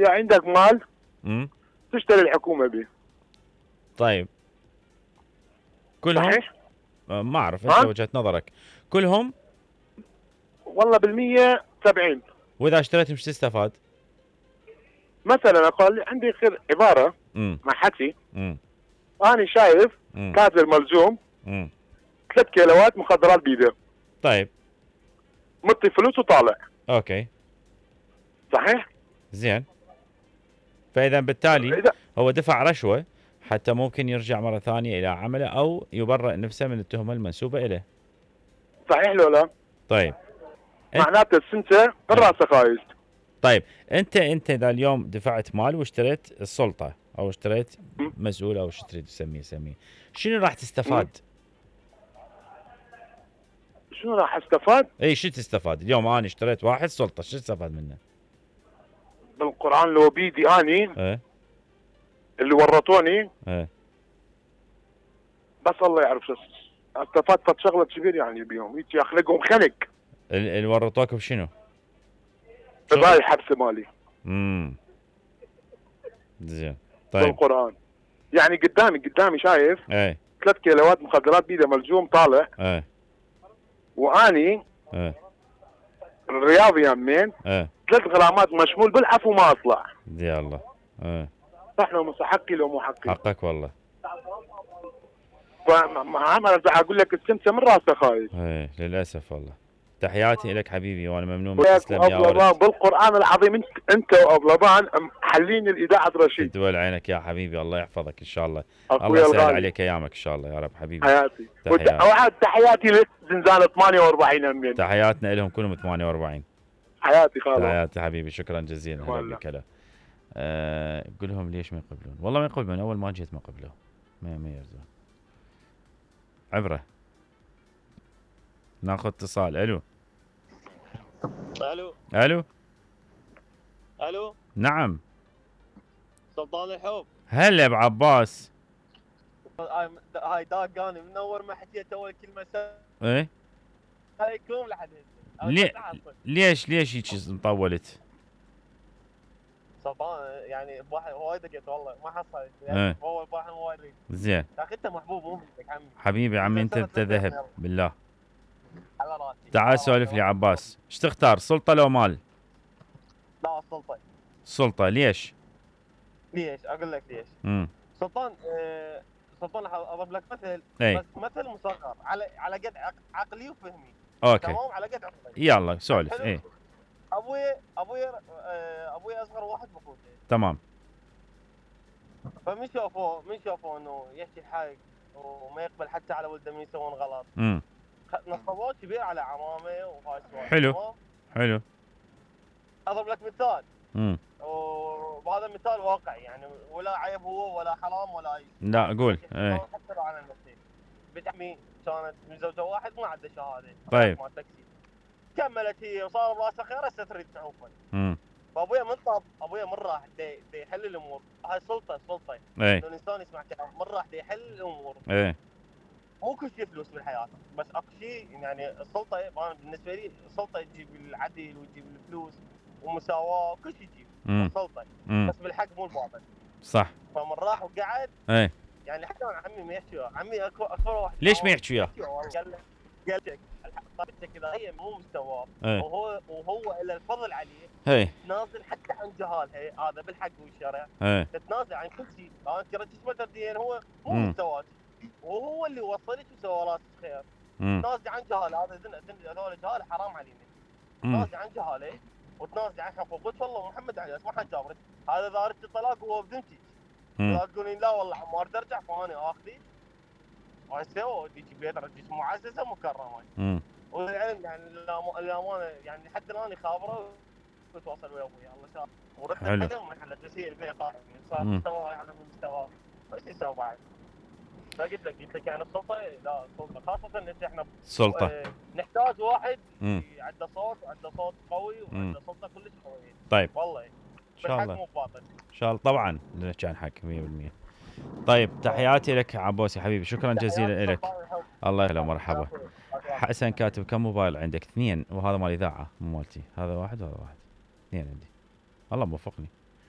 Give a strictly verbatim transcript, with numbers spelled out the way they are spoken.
اذا عندك مال امم تشتري الحكومه به. طيب كلهم؟ صحيح؟ آه ما اعرف، انت ها؟ وجهة نظرك. كلهم؟ والله بالمية سبعين. واذا اشتريت مش تستفاد؟ مثلا اقول عندي خير عباره امم مع حكي. امم انا شايف امم تاجر ملزوم امم ثلاث كيلوات مخدرات بيده، طيب مطي فلوس وطالع. اوكي صحيح؟ زين. فاذا بالتالي اذا هو دفع رشوة حتى ممكن يرجع مرة ثانية الى عمله او يبرئ نفسه من التهمة المنسوبة اليه. صحيح لو لا؟ طيب انت معناته السنته من آه. راسه خايس. طيب انت انت اذا اليوم دفعت مال واشتريت السلطة او اشتريت م- مسؤول او شو تريد تسميه سميه، شنو راح م. تستفاد؟ شنو راح استفاد؟ اي شو تستفاد؟ اليوم انا اشتريت واحد سلطة، شو استفاد منه؟ بالقران لو بيدي اني ايه اللي ورطوني ايه بس الله يعرف شو استفاد. فد شغله كبير يعني بيهم هيك يخلقهم خنق. ال- اللي ورطوك بشنو؟ بهاي الحبسه مالي امم زين. طيب بالقران. يعني قدامي قدامي شايف ايه ثلاث كيلوات مخدرات بيده ملزوم طالع، ايه واني ايه الرياضي يمين ايه ثلاث غرامات مشمول بالعفو ما اطلع. يا الله. ايه صح لو مو حقي لو مو حقي. حقك والله. فما انا اقول لك السمسه من راسه خايف. ايه للاسف والله. تحياتي لك حبيبي وانا ممنون من تسلم يا أبلبان ورد. بالقران العظيم انت انت وابلبان حلين الاذاعه رشيد. تدول عينك يا حبيبي، الله يحفظك ان شاء الله. اخوي الله يسهل الغالي عليك ايامك ان شاء الله يا رب حبيبي. حياتي. تحياتي. وعاد تحياتي لزنزانه ثمانية وأربعين امين. تحياتنا لهم كلهم ثمانية وأربعين. حياتي خالد. تحياتي حبيبي، شكرا جزيلا. هلا بك. هلا. أه قل لهم ليش ما يقبلون؟ والله ما يقبلون، اول ما جيت ما قبلوا، ما ما يرضون. عبره. ناخذ اتصال. الو الو الو الو نعم. سلطان الحب. هلا ابو عباس. هاي هاي داقاني منور ما حكيت اول كلمه سلام ايه عليكم لحد هسه. ليه ليش ليش هيك مطولت؟ سلطان يعني واحد وايد دقيت والله ما حصلت يعني. ايه هو واحد وايد. زين. يا اخي انت محبوب مو منك عمي. حبيبي عمي انت انت ذهب بالله. على راسي. تعال سولف لي عباس، ايش تختار سلطه لو مال؟ لا السلطه. سلطه. ليش؟ ليش؟ اقول لك ليش. امم سلطان آه سلطان اضرب لك مثل. اي بس مثل مصغر على على قد عقلي وفهمي. اوكي تمام على قد عقلي. يلا سولف. اي ابوي ابوي آه ابوي اصغر واحد باخوته. تمام. فمن شافوه من شافوه انه يحكي الحق وما يقبل حتى على ولده من يسوون غلط. امم نصبوه كبير على عمامه وهاي السوالف. حلو حلو. اضرب لك مثال. امم وهذا مثال واقعي يعني ولا عيب هو ولا حرام ولا اي. لا قول. اي حتى لو على نفسي. بنت عمي كانت متزوجه واحد ما عنده شهاده. طيب. مال تاكسي. كملت هي وصار براسها خير هسه تريد تعوفه. امم فابويا من طاب ابويا من راح دي, دي يحل الامور. هاي سلطه سلطه. اي الانسان يسمع كلام من راح دي يحل الامور. اي مو كل شيء فلوس بالحياه بس اكو شيء يعني السلطه انا بالنسبه لي السلطه تجيب العدل وتجيب الفلوس ومساواه وكل شيء تجيب السلطه. بس بالحق مو الباطل. صح. فمن راح وقعد اي يعني حتى انا عمي ما يحكي عمي اكبر واحد. ليش ما يحكي وياه؟ قال قال لك طريقتك اذا هي مو مستواه ايه. وهو وهو الا الفضل عليه. اي تنازل حتى عن جهالها هذا بالحق والشرع. اي تتنازل عن كل شيء. انت ترى تسمى تردين هو مو مم. مستواك وهو اللي وصلك وسوى راسك خير. امم تنازل عن جهاله هذا هذول جهاله حرام علينا. تنازل عن جهاله وتنازل عن حقوقك والله محمد عليه اسمع حد جابرك هذا اذا اردت الطلاق وهو بذمتك. لا تقولين لا والله عمار ارجع فانا اخذي وهسه وديك بيت رجيك معززه مكرمه. امم والعلم يعني الامانه يعني حتى الان خابره وتواصل ويا ابويا الله شاف ورد عليهم من حلت بس هي البيت صار مستوى على المستوى ايش يسوي بعد؟ فقلت لك قلت لك يعني السلطه لا السلطه خاصه ان احنا سلطه اه نحتاج واحد مم. عنده صوت وعنده صوت قوي وعنده سلطه كلش قويه. طيب والله ان شاء الله مو باطل ان شاء الله طبعا نحكي عن حق مية بالمية. طيب تحياتي لك عبوسي حبيبي، شكرا جزيلا لك. الله يهلا مرحبا. حسن كاتب كم موبايل عندك؟ اثنين وهذا مال اذاعه مو مالتي. هذا واحد وهذا واحد. اثنين عندي. الله موفقني.